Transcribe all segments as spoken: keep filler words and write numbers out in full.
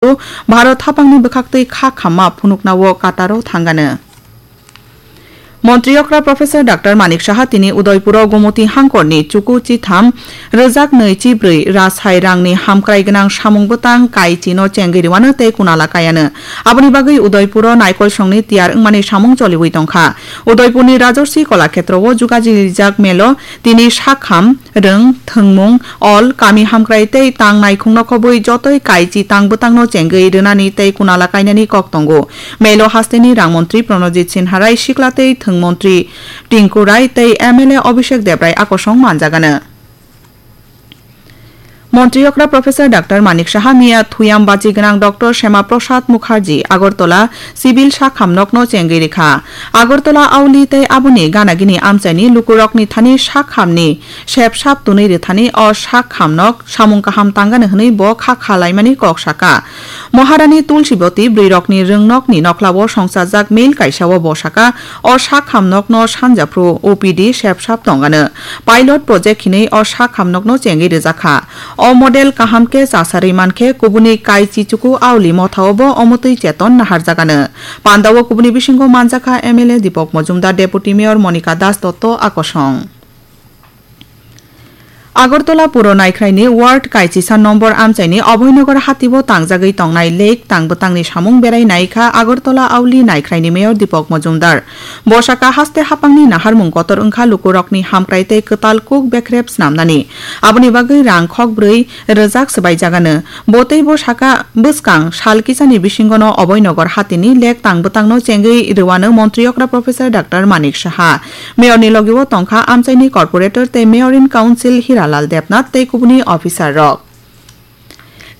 Bharot haphangni bwkhaktwi kha khamma phunuknao Qatar-o thangano. Montri okra Professor Doctor Manik Saha tini Udaipuro Gomoti hangkorni chuku chitham rwjak nwi chibrwi rasai rangni hamkrai gwnang samung bwtang kaichino chengwi rwano tei kunala kaiano. Aboni bagwi Udaipuro naikolsongni tiyar wngmani samung choliwi tongkha. Udaipurni Rajarsi Kolakhetro o jugajirijak melo tini sakham, rwng, thwngmung, ol, kami hamkrai tei tang naikhung nokhobwi jotoi kaichi tang bwtangno chengwi rwnani tei kunala kainani kok tongo. Melo hasteni rang montri Pranojit Sinha Rai, sikla tei thwng montri Tinku Rai tei M L A Abhishek Debrai akosong manjagano. Montri okra Professor Doctor Manik Saha miya thuyam bachi gwnang Doctor Shema Prasad Mukherjee Agartala Civil sakham nokno chengwi rikha. Agartala auli tei aboni ganagini amchaini lukurokni thani sakhamni sep sap tunwi rwthani o sakham nok samung kaham tangano hwnwi bo kha kha laimani kok saka. Maharani Tulsiboti bwrwirokni rwngnokni nokhlao songchajak mail kaisao bo saka, o sakham nokno sanjaphru O P D sep sap tongano. Pilot project hinwi o sakham nokno chengwi rwjakha. O model kaham khe chasarwi mankhe kubuni kaichi chuku auli mothao bo omotwi cheton naharjagano. Pandao kubuni bisingo manjakha M L A Deepak Majumdar, Deputy Mayor Monika Das Dotto akosong. Agartala Puro Naikhraini Ward Kaichisa nombor amchaini Abhoynagar hatio tangjagwi tongnai lake tang bwtangni samung berai naikha Agartala auli Naikhraini Mayor Deepak Majumdar. Bosaka haste hapangni naharmung kotor wngkha lukurokni hamkrai tei kwtal kuk bekrep snamnani. Aboni bagwi rang khok brwi rwjak swbaijagano. Bo tei bo saka bwskang sal kisani bisingono Abhoynagar hatini lake tang bwtangno chengwi rwano montri okra Professor Doctor Manik Saha. Mayorni logio tongkha amchaini corporator tei Mayor in Council Hiralal Debnath tei kubuni officer rok.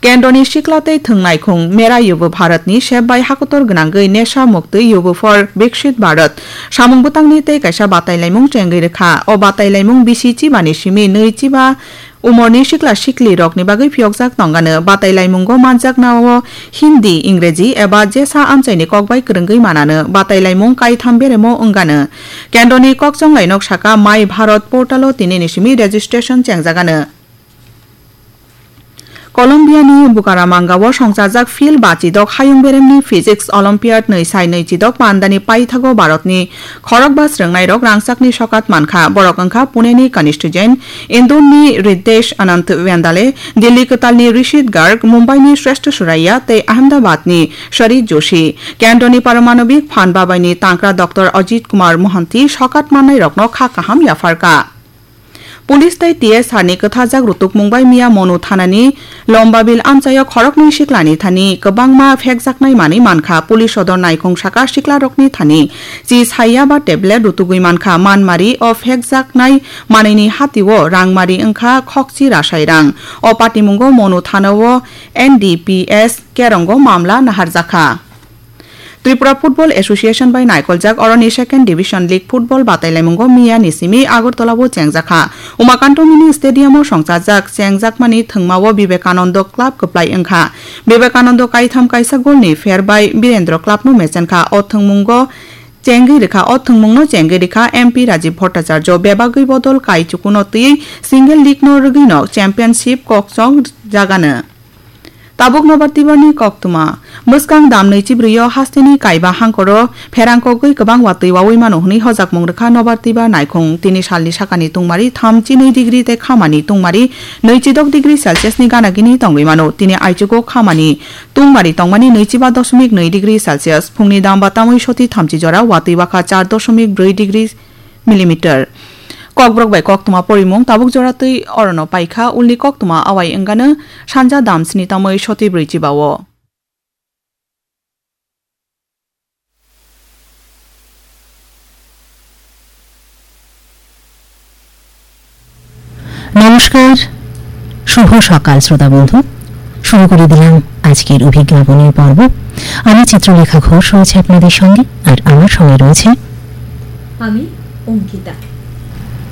Kendroni sikla tei thwng naikhung Mera Yuva Bharatni sep bai hakotor gwnangwi Nesha Mukti Yuva for Viksit Bharat samung bwtangni tei kaisa batailaimung chengwi rwkha. O batailaimung bisi chibani simi nwi chiba umorni sikla siklirokni bagwi phiyokjak tongano. Batailaimungo manjaknao Hindi, Ingreji eba jesa amchaini kokbai kwrwngwi manano. Batailaimung kaitham beremo wngano. Kendroni kokchonglai nok saka My Bharat portalo tinini simi registration chengjagano. Colombiani Bucaramanga-o songchajak field bachidok hayung beremni Physics Olympiad nwi sai nwi chidok pandani paithago Bharatni khorokba srwngnairok rangchakni sokat mankha. Borok wngkha Puneni Kanishtu Jain, Indorni Riddesh Anant Wendale, Delhi kwtalni Rishit Garg, Mumbaini Shrestha Suraiya tei Ahmedabadni Sari Joshi. Kendroni Paramanobik Phan Babaini tangkra Doctor Ajit Kumar Mohanty sokat mannairokno kha kaham yapharkha. Police tei T S R ni kwthajak rutukmung bai miya Monu thanani Lombabil amchaio khoroknwi siklani thani kwbangma phekjaknai manwi mankha. Police sodor naikhung saka siklarokni thani chi saiya ba tablet rutugwi mankha. Manmari o phekjaknai manwini hatio rangmari wngkha khokchi rasai rang. O patimungo Monu thanao N D P S kerongo mamla naharjakha. Tripura Football Association bai naikoljak oroni Second Division League Football batailaimungo miya ni simi Agartala o chengjakha. Umakanto Mini Stadium o songchajak chengjakmani thwngmao Vivekanando Club kwplai wngkha. Vivekanando kaitham kaisa goal ni pher bai Birendra Club no mechenkha. O thwngmungo chengwi rikha, o thwngmungno chengwi rikha M P Rajiv Bhattacharya. Bebagwi bodol kai chukuno twiwi single league no rwgwino championship kokchok jagano. Tabuk nobar tibarni koktwma. Bwskang dam nwi chibrwi o hasteni kaiba hangkoro pherang kogwi kwbang watwi wawi mano hwnwi hojakmung rwkha nobar tibar naikhung. Tini salni sakani tungmari thamchi nwi degree tei khamani tungmari nwichi dok degree Celsius ni gana gini tongwi mano. Tini aichugo khamani tungmari tongmani nwichi ba dosmik nwi degree Celsius. Phungni dam ba tamwi soti thamchi jora watwi wakha char dosmik brwi degree millimeter. Kokborok bai koktwma porimung tabuk jora twi orono paikha, ulni koktwma awai wngano sanja dam sni tamwi soti brwi chibao. নমস্কার, শুভ সকাল শ্রোতা বন্ধু। শুরু করে দিলাম আজকের অভিজ্ঞাপনের পর্ব। আমি চিত্রলেখা ঘোষ রয়েছে আপনাদের সঙ্গে, আর আমার সঙ্গে রয়েছে আমি অঙ্কিতা।